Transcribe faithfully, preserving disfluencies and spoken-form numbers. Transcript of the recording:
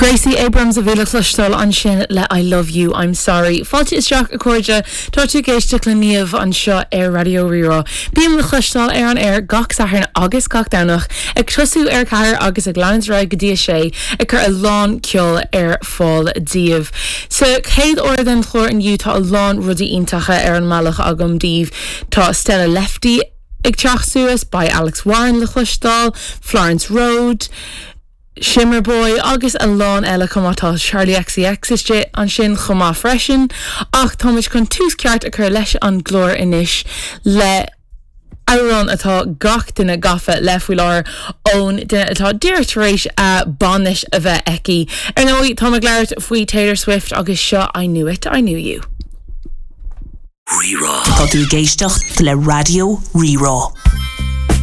Gracie Abrams a bhí le cloisteáil ansin le I love you, I'm sorry. Fáilte isteach a chairde tá tú ag éisteacht le Niamh anseo ar Raidió Rí-Rá. Bím le cloisteáil ar an air gach Satharn agus gach Domhnach ag tosú ar ceathair agus ag leanúint go dtí a sé ag cur a lán ceol ar fáil daoibh. Sa chéad uair den chlár inniu tá a lán rudaí iontacha ar an mbealach agam daoibh tá Stella Lefty ag teacht suas beidh Alex Warren le cloisteáil, Florence Road, Shimmer Boy agus a lán eile chomh maith tá Charli XCX istigh ansin chomh maith freisin ach táimid chun tús ceart a chur leis an gclár anois le amhrán atá gach duine gafa le faoi láthair ón duine atá díreach tar éis a bainis a bheith aici. Ar ndóigh tá ag labhairt faoi Taylor Swift agus seo I knew it, I knew you. Rí-Rá. Tá tú ag éisteacht le Raidió Rí-Rá.